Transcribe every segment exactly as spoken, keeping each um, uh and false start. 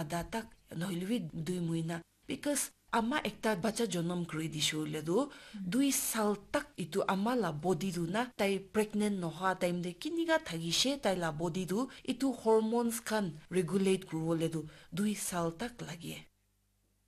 adha tak, nohoile bi dui mahina. Because ama ekta bacha jonom kuri dishe hoile tu, dui sal tak itu ama la body tu na, tai pregnant nohoa time te kinika thakishe, tai la body tu itu hormones khan regulate kuribole tu dui sal tak lage.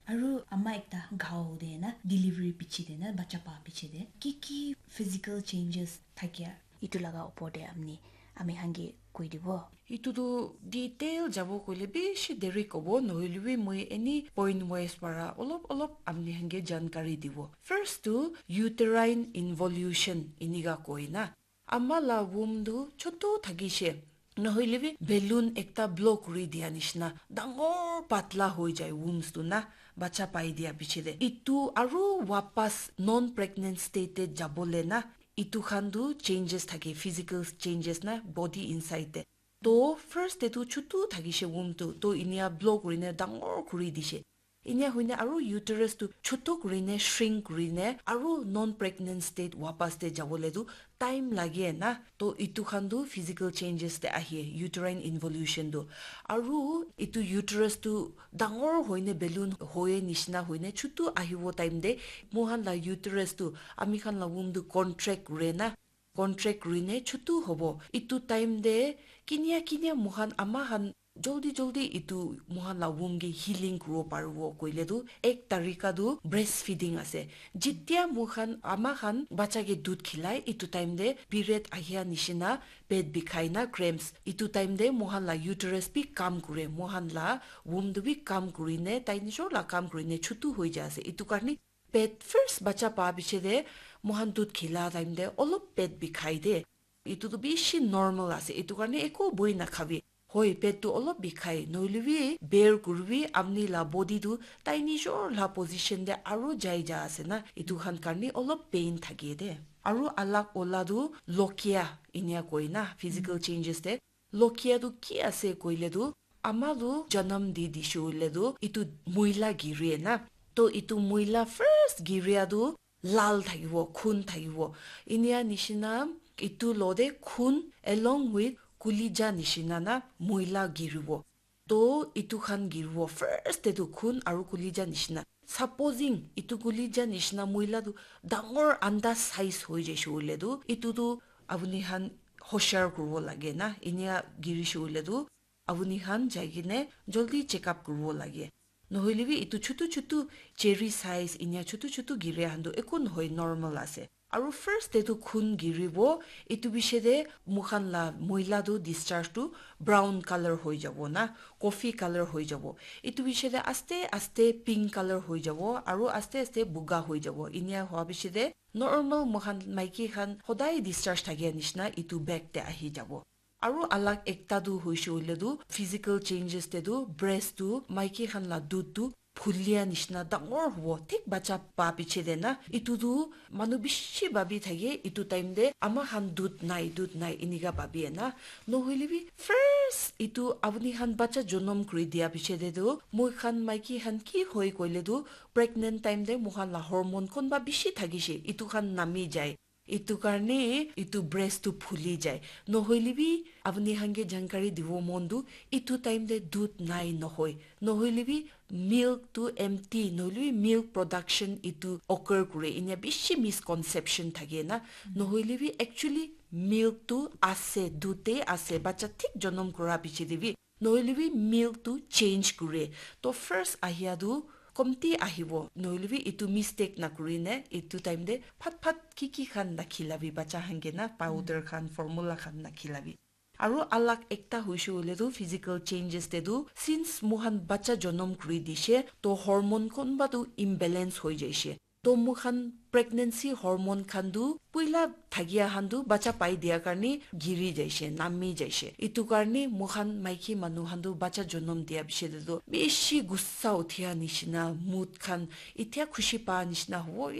Aru ama ekta gao de na, delivery piche de na, bacha pa piche de, ki ki physical changes thakia? Itu laga opor de amni, ami khan ke koi dibo. Itu tu detail jabo koile bishi deri kobo, nohoile bi moi any point wise para olop olop amni khan ke jankari dibo. First tu uterine involution inika koi na. Ama la womb tu chotu thakishe. Nohoile bi balloon ekta blow kuri dia nishina dangor patla hoi jai wombs tu na, bacha pai dia piche de. Itu aru wapas non-pregnant state te jabole na, itu khan tu changes thake, physical changes na, body inside te. To first te tu chutu thakishe womb tu, to inia blow kurine dangor kuri dishe. Inia hoine aru uterus tu chutu kurine, shrink kurine, aru non-pregnant state wapas te jabole tu time lage na. To itu khan tu physical changes te ahe, uterine involution tu. Aru itu uterus tu dangor hoine balloon hoye nishina hoine chutu ahibo time te moikhan la uterus tu, ami khan la womb tu contract kure na, contract kurine chutu hobo. Itu time te kinia kinia moikhan ama khan joldi joldi itu moikhan la womb ke healing kuribo paribo koile tu ek tarika tu breastfeeding ase. Jitia moikhan ama khan bacha ke dudh khilai, itu time te period ahia nishina pet bikhai na cramps, itu time te moikhan la uterus bi kam kure, moikhan la womb tu bi kam kurine, tai nijor la kam kurine chutu hoi ja ase. Itu karne pet first bacha pa piche de moikhan dudh khila time de olop pet bikhai de. Itu tu bishi normal ase. Itu karne eko boi nakhabi. Hoi, pet tu olop bikhai. Nohoile bi bear kuribi, amni la body tu tai nijor la position de aru jai ja ase na. Itu khan karne olop pain thake de. Aru alak ola tu lokia inia koi na, physical changes de. Lokia tu ki ase koile tu, ama tu janam di dishe hoile tu, itu muila giri na. To itu muila first giria tu lal thakibo, khun thakibo. Inia nishina itu lo de khun along with kulija nishina na muila giribo. To itu khan giribo first te tu khun aru kulija nishina. Supposing itu kulija nishina muila tu dangor anda size hoi jaishe hoile tu, itu tu apuni khan hoshar kuribo lage na, inia girishe hoile tu apuni khan jai kene joldi check up kuribo lage. Nohoile bi itu chutu chutu cherry size inia chutu chutu giria khan tu eko nohoi, normal ase. Aru first te tu khun giribo, itu piche de moikhan la muila tu discharge tu brown color hoi jabo na, coffee color hoi jabo. Itu piche de aste aste pink color hoi jabo, aru aste aste buga hoi jabo. Inia hua piche de normal moikhan maiki khan hodai discharge thakia nishina itu bag te ahi jabo. Aru alak ekta tu hoishe hoile tu physical changes te tu breast tu maiki khan la dudh tu phulia nishina dangor hobo, thik bacha pa piche de na. Itu tu manu bishi bhabi thake, itu time de ama khan dudh nai, dudh nai inika bhabi na. Nohoile bi first itu apuni khan bacha jonom kuri dia piche de tu moikhan maiki khan ki hoi koile tu pregnant time de moikhan la hormone konba bishi thakishe, itu khan nami jai. Itu karne itu breast tu phuli jai. Nohoile bi apuni khan ke jankari dibo mon tu, itu time te dudh nai nohoi. Nohoile bi milk tu empty, nohoile bi milk production itu occur kure. Inia bishi misconception thake na. Nohoile bi actually milk tu ase, dudh te ase, bacha thik jonom kura piche de bi. Nohoile bi milk tu change kure. To first ahia tu komti ahibo. Nohoile bi itu mistake nakurine, itu time de phat phat ki ki khan nakhilabi, bacha khan ke na, powder khan, formula khan nakhilabi. Aru alak ekta hoishe hoile tu physical changes te tu, since moikhan bacha jonom kuri dishe, to hormone konba tu imbalance hoi jaishe. To moikhan pregnancy hormone khan tu puila thakia khan tu bacha pai dia karne giri jaishe, nami jaishe. Itu karne moikhan maiki manu khan tu bacha jonom dia piche de tu bishi gussa uthia nishina, mood khan itia khushi pa nishina hobo,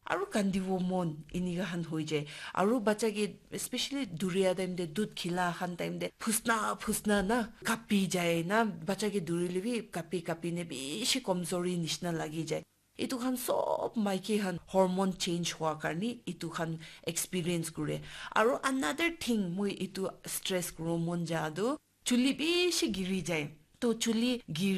aru kandibo mon inika khan hoi jai. Aru bacha ke especially duria time de, dudh khila khan time de phusna phusna na kapi jai na, bacha ke durile bi kapi kapi ne bishi komzori nishina lagi jai. Itu khan sob maiki khan hormone change hua karne itu khan experience kure. Aru another thing moi itu stress kuribo mon ja tu, chuli bishi giri jai. To chuli giri